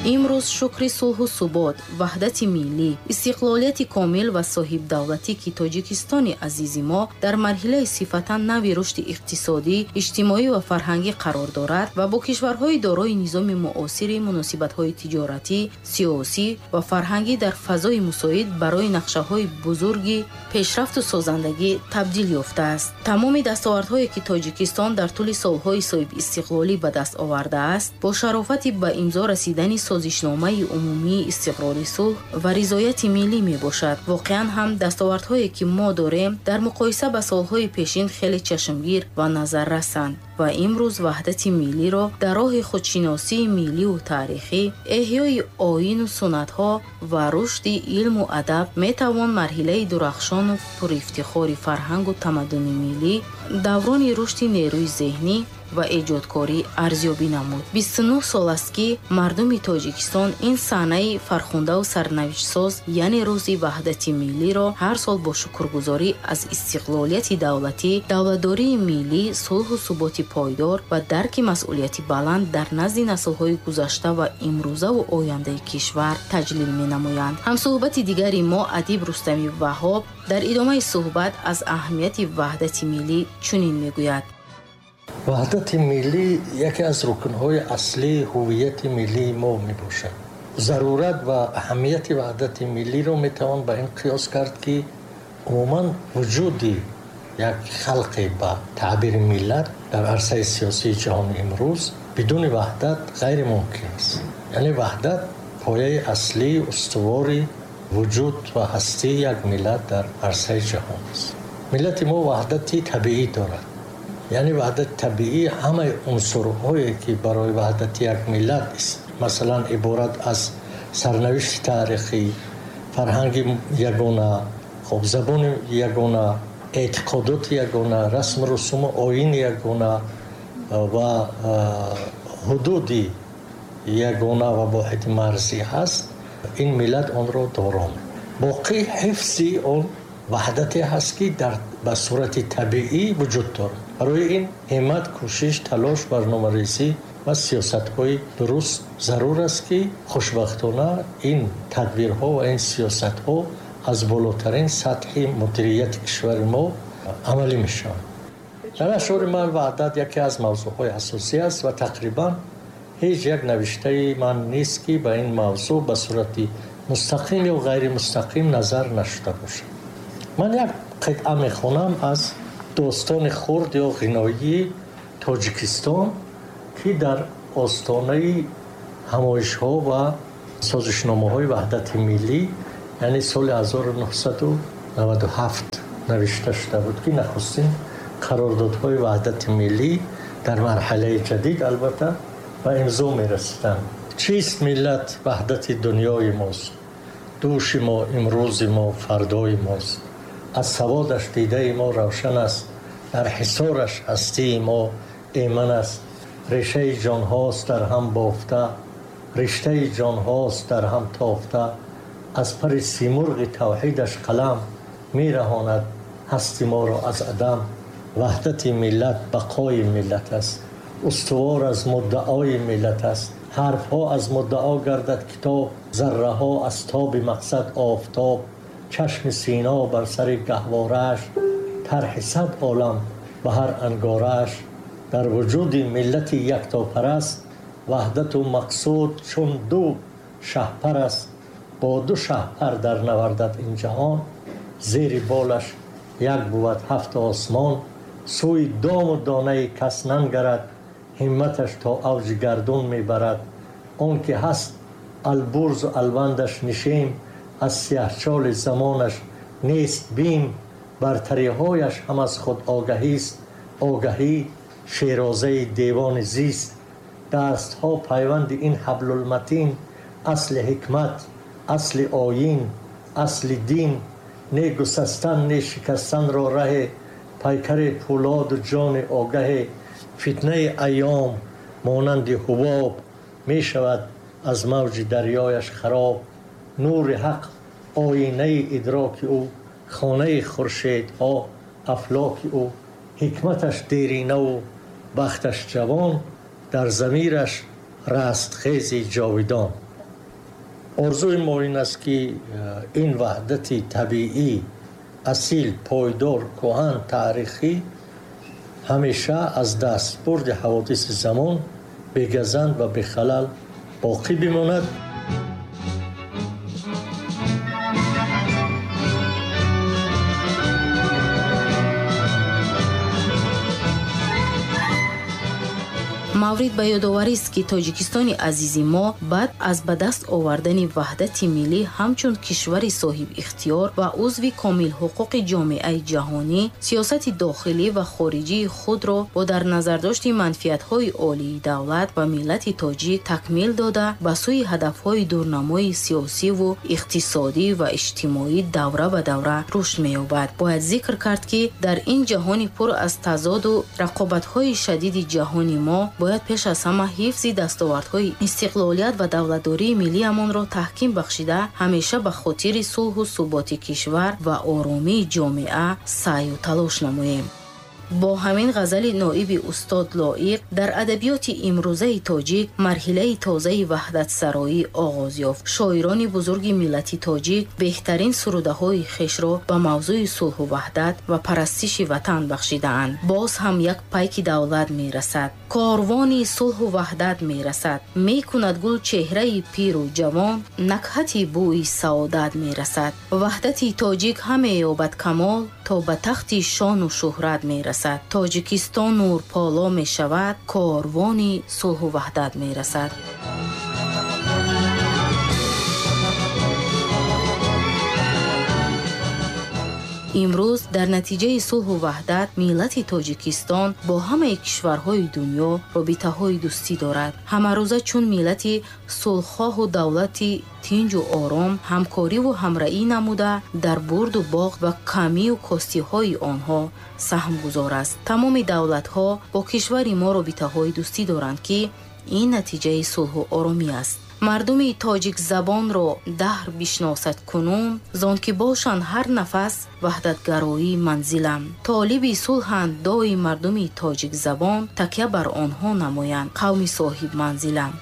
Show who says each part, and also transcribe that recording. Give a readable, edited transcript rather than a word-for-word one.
Speaker 1: Имрӯз шукри сулҳу субот, ваҳдати миллӣ, истиқлолияти комил ва соҳибдавлатӣ, ки Тоҷикистони азизи мо дар марҳилаи сифатан нави рушди иқтисодӣ, иҷтимоӣ ва фарҳангӣ қарор дорад ва бо кишварҳои дорои низоми муосири муносибатҳои тиҷоратӣ, сиёсӣ ва фарҳангӣ дар фазои мусоид барои нақшаҳои бузурги пешрафту созандагӣ табдил ёфтааст. Тамоми дастовардҳое, ки Тоҷикистон дар тӯли солҳои соҳибистиқлолӣ ба даст овардааст, бо шарофати ба имзо расидани созишномаи умумии истиқрори сулҳ ва ризояти миллӣ мебошад. Воқеан ҳам дастовардҳое, ки мо дорем, дар муқоиса ба солҳои пешин хеле чашмгир ва назаррасанд ва имрӯз ваҳдати миллиро дар роҳи худшиносии милливу таърихӣ, эҳёи оину суннатҳо ва рушди илму адаб метавон марҳилаи дурахшону пурифтихори фарҳангу тамаддуни миллӣ, даврони рушди нерӯи зеҳнӣ ва эҷодкорӣ арзёбӣ намуд. 29 сол аст, ки мардуми Тоҷикистон ин саҳнаи фархундаву сарнавиштсоз, яъне рӯзи ваҳдати миллиро ҳар сол бо шукргузорӣ аз истиқлолияти давлатӣ, давлатдории миллӣ, сулҳу суботи пойдор ва дарки масъулияти баланд дар назди наслҳои гузашта ва имрӯзаву ояндаи кишвар таҷлил менамоянд. Ҳамсуҳбати дигари мо, адиб Рустами Ваҳҳоб, дар идомаи суҳбат аз аҳамияти ваҳдати миллӣ чунин мегӯяд.
Speaker 2: Ваҳдати миллӣ яке аз рукнҳои аслии ҳуввияти миллии мо мебошад. Зарурат ва аҳамияти ваҳдати миллиро метавон ба ин қиёс кард, ки умуман вуҷуди як халқе ба таъбири миллат дар арсаи сиёсии ҷаҳони имрӯз бидуни ваҳдат ғайримумкин аст. Яъне ваҳдат пояи аслии устувори вуҷуд ва ҳастии як миллат дар арсаи ҷаҳон аст. Миллати мо ваҳдати табиӣ дорад. Яъне ваҳдати табиӣ ҳамаи унсурҳое, ки барои ваҳдати як миллат, масалан, иборат аз сарнавишти таърихӣ, фарҳанги ягона, хоб, забони ягона, эътиқодоти ягона, расму русуму оини ягона ва ҳудуди ягона ва воҳиди марзӣ ҳаст, ин миллат онро доро. Боқӣ ҳифзи он ваҳдате ҳаст, ки дар ба сурати табиӣ вуҷуд дорад. Барои ин ҳиммат, кӯшиш, талош, барномарезӣ ва сиёсатҳои дуруст зарур аст, ки хушбахтона ин тадбирҳо ва ин сиёсатҳо аз болотарин сатҳи мудирияти кишвари мо амалӣ мешаванд. Дар ашъори ман ваҳдат яке аз мавзӯъҳои асосӣ аст ва тақрибан ҳеҷ як навиштаи ман нест, ки ба ин мавзӯъ ба сурати мустақим ё ғайримустақим назар нашуда бошад. Ман як қитъа мехонам аз достони хурд ё ғиноии Тоҷикистон, ки дар остонаи ҳамоишҳо ва созишномаҳои ваҳдати миллӣ, яъне соли 1997 навишта шуда буд, ки нахустин қарордодҳои ваҳдати миллӣ дар марҳалаи ҷадид албатта ба имзо мерасиданд. Чист миллат? Ваҳдати дунёи мост, дӯши мо, имрӯзи мо, фардои мост. Аз саводаш дидаи мо равшан аст, дар ҳисораш ҳастии мо эман аст. Решаи ҷонҳост дар ҳам бофта, риштаи ҷонҳост дар ҳам тофта. Аз пари симурғи тавҳидаш қалам мераҳонад ҳасти моро аз адам. Ваҳдати миллат бақои миллат аст, устувор аз муддаои миллат аст. Ҳарфҳо аз муддао гардад китоб, зарраҳо аз тоби мақсад офтоб. Чашми сино бар сари гаҳворааш, тарҳи сад олам ба ҳар ангорааш. Дар вуҷуди миллати яктопараст ваҳдату мақсуд чун ду шаҳпар аст. Бо ду шаҳпар дар навардад ин ҷаҳон, зери болаш як бувад ҳафт осмон. Сӯи дому донаи кас нангарад, ҳимматаш то авҷи гардун мебарад. Он ки ҳаст албурзу алвандаш нишем, аз сиёҳчоли замонаш нест бим. Бартариҳояш ҳам аз худ огаҳист, огаҳӣ шерозаи девони зист. Дастҳо пайванди ин ҳаблулматин, асли ҳикмат, асли оин, асли дин. Не гусастан, не шикастанро раҳе, пайкари пӯлоду ҷони огаҳе. Фитнаи айём монанди ҳубоб мешавад аз мавҷи дарёяш хароб. Нури ҳақ оинаи идроки ӯ, хонаи хуршедҳо афлоки ӯ. Ҳикматаш деринаву бахташ ҷавон, дар замираш растхези ҷовидон. Орзуи мо ин аст, ки ин ваҳдати табиӣ, асил, пойдор, кӯҳан, таърихӣ ҳамеша аз дастбурди ҳаводиси замон бегазанд ва бехалал боқӣ бимонад.
Speaker 1: Маврид ба ёдоварист, ки Тоҷикистони азизи мо баъд аз ба даст овардани ваҳдати миллӣ ҳамчун кишвари соҳибихтиёр ва узви комилҳуқуқи ҷомеаи ҷаҳонӣ сиёсати дохилӣ ва хориҷии худро бо дар назардошти манфиатҳои олии давлат ва миллати тоҷик такмил дода, ба сӯи ҳадафҳои дурнамои сиёсиву иқтисодӣ ва иҷтимоӣ давра ба давра рушд меёбад. Бояд зикр кард, ки дар ин ҷаҳони пур аз тазоду рақобатҳои шадиди ҷаҳони мо бояд пеш аз ҳама ҳифзи дастовардҳои истиқлолият ва давлатдории миллиамонро таҳким бахшида, ҳамеша ба хотири сулҳу суботи кишвар ва оромии ҷомеа саъю талош намоем. Бо ҳамин ғазали ноиби устод Лоиқ дар адабиёти имрӯзаи тоҷик марҳилаи тозаи ваҳдатсароӣ оғоз ёфт. Шоирони бузурги миллати тоҷик беҳтарин сурудаҳои хешро ба мавзӯи сулҳу ваҳдат ва парастиши ватан бахшидаанд. Боз ҳам як пайки давлат мерасад, корвони сулҳу ваҳдат мерасад, мекунад гул чеҳраи пиру ҷавон, накҳати бӯи саодат мерасад. Ваҳдати тоҷик ҳаме ёбад камол, то ба тахти шону шӯҳрат мерасад. Тоҷикистон нурполо мешавад, корвони сулҳу ваҳдат мерасад. Имрӯз дар натиҷаи сулҳу ваҳдат миллати Тоҷикистон бо ҳамаи кишварҳои дунё робитаҳои дӯстӣ дорад. Ҳамарӯза чун миллати сулҳхоҳу давлати тинҷу ором ҳамкориву ҳамраӣ намуда, дар бурду боғ ва камию костиҳои онҳо саҳмгузор аст. Тамоми давлатҳо бо кишвари мо робитаҳои дӯстӣ доранд, ки ин натиҷаи сулҳу оромӣ аст. Мардуми тоҷикзабонро даҳр бишносад кунун, зон ки бошанд ҳар нафас ваҳдатгароии манзилам. Толиби сулҳанд дои мардуми тоҷикзабон, такя бар онҳо намоянд қавми соҳибманзилам.